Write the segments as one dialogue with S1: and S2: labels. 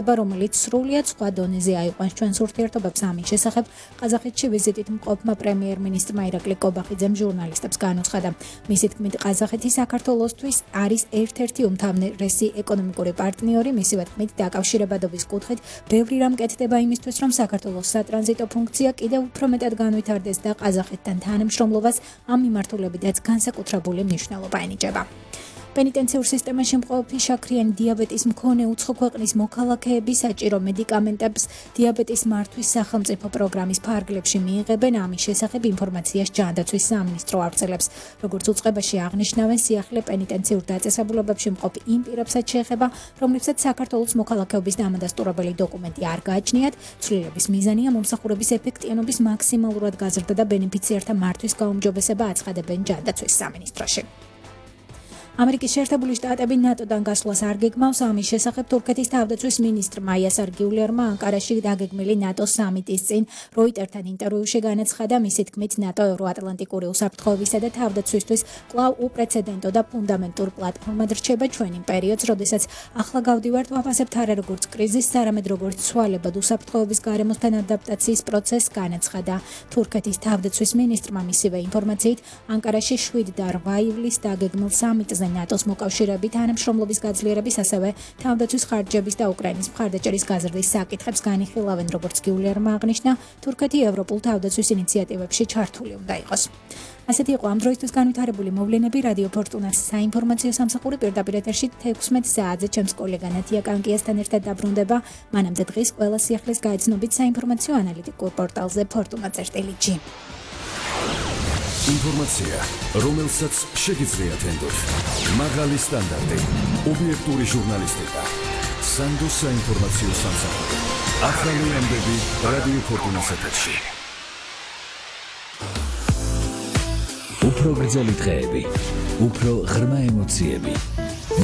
S1: რომელიც სრულიად სხვა დონეზე აიყვანს ჩვენს ურთიერთობებს ამის შესახებ ყაზახეთში ვიზიტით მყოფმა პრემიერ-მინისტრმა ირაკლი კობახიძემ ჟურნალისტებს განუცხადა. მისი თქმით, ყაზახეთი საქართველოსთვის არის ერთ-ერთი უმთავრესი ეკონომიკური პარტნიორი, მისივე თქმით, დაკავშირებადობის კუთხით ბევრი რამ კეთდება იმისთვის, რომ საქართველოს სატრანზიტო ფუნქცია კიდევ უფრო მეტად განვითარდეს და ყაზახეთთან თანამშრომლობას ამ მიმართულებიდაც განსაკუთრებული მნიშვნელობა ენიჭება. პენიტენციურ სისტემაში მყოფი შაქრიანი დიაბეტის მქონე უცხო ქვეყნის მოქალაქეები საჭირო მედიკამენტებს დიაბეტის მართვის სახელმწიფო პროგრამის ფარგლებში მიიღებენ. ამის შესახებ ინფორმაციას ჯანდაცვის სამინისტრო ავრცელებს. როგორც უწყებაში აღნიშნავენ, სიახლე პენიტენციურ დაწესებულებებში მყოფი იმ პირებსაც შეეხება, რომლებსაც საქართველოს მოქალაქეობის დამადასტურებელი დოკუმენტი არ გააჩნიათ. ცვლილების მიზანია მომსახურების ეფექტიანობის მაქსიმალურად გაზრდა და ბენეფიციართა მართვის გაუმჯობესება, აცხადებენ ჯანდაცვის სამინისტროში. ამერიკის შეერთებული შტატები ნატოდან გასვლას არ გეგმავს. ამის შესახებ თურქეთის თავდაცვის მინისტრმა იასარ გიულერმა ანკარაში დაგეგმილი ნატოს სამიტის წინ როიტერთან ინტერვიუში განაცხადა, მისი თქმით, ნატო ევროატლანტიკური უსაფრთხოებისა და თავდაცვისთვის კვლავ უპრეცედენტო და ფუნდამენტურ პლატფორმად რჩება. ჩვენ იმ პერიოდს, როდესაც ახლა გავდივართ, ვაფასებთ არა როგორც კრიზისს, არამედ როგორც ცვალებად უსაფრთხოების გარემოსთან ადაპტაციის პროცესს, განაცხადა თურქეთის თავდაცვის მინისტრმა. მისივე ინფორმაციით, ანკარაში 7 და 8 ივლისს დაგეგმილ სამიტზე ნატოს მოკავშირეები თანამშრომლობის გაძლიერების, ასევე თავდაცვის ხარჯების და უკრაინის მხარდაჭერის გაზრდის საკითხებს განიხილავენ. როგორც გიულერმა აღნიშნა, თურქეთი ევროპულ თავდაცვის ინიციატივებში ჩართული უნდა იყოს. ასეთი იყო ამ დროისთვის განვითარებული მოვლენები. რადიო ფორტუნას საინფორმაციო სამსახური პირდაპირ ეთერში 16 საათზე ჩემს კოლეგა ნათია კანკიასთან ერთად დაბრუნდება. მანამდე დღის ყველა სიახლის გაეცნობით საინფორმაციო ანალიტიკურ პორტალზე fortuna.gr.
S2: ინფორმაცია, რომელსაც შეგიძლიათ ენდოთ. მაღალი სტანდარტი, ობიექტური ჟურნალისტიკა. სანდოს საინფორმაციო სამსახური. ახალი ამბები რადიო ფორტუნას ეთერში. უფრო გრძელი დღეები, უფრო ღრმა ემოციები.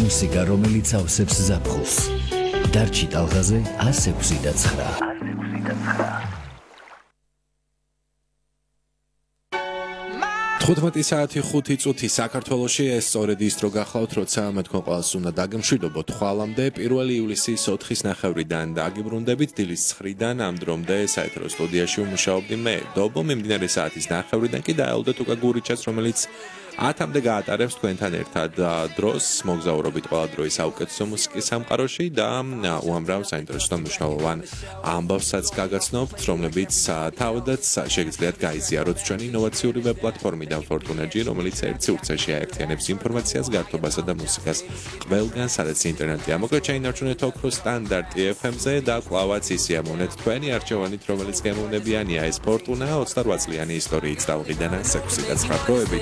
S2: მუსიკა, რომელიც ავსებს ზაფხულს. დარჩი ტალღაზე 106.9.
S3: 15 საათი 5 წუთი საქართველოში ეს სწორედ ის დრო გახლავთ, როცა მე თქვენ ყველას უნდა დაგემშვიდობოთ ხვალამდე 1 ივლისის 4-9-დან დაგიბრუნდებით, დილის 9-დან ამ დრომდე საეთერო სტუდიაში ვმუშაობდი მე, დობო. მიმდინარე საათის 9-დან კი დაელოდეთ უკა გურიჩას, რომელიც 10-მდე გაატარებს თქვენთან ერთად დროს. მოგზაურობით ყველა დროის საუკეთესო მუსიკის სამყაროში და უამრავ საინტერესო და მნიშვნელოვან ამბავსაც გაგაცნობთ, რომლებიც თავადაც შეგიძლიათ გაიზიაროთ ჩვენი ინოვაციური ვებ პლატფორმიდან Fortuna.gr, რომელიც ერთ სივრცეში აერთიანებს ინფორმაციას, გართობასა და მუსიკას ყველგან, სადაც ინტერნეტია. მოკლედ ჩაინარჩუნეთ ოქროს სტანდარტი FM-ზე და კვლავაც ისიამოვნეთ თქვენი არჩევანით, რომელიც გემოვნებიანია. ეს Fortuna 28 წლიანი ისტორიით დავყიდანა 6-9 დროებით.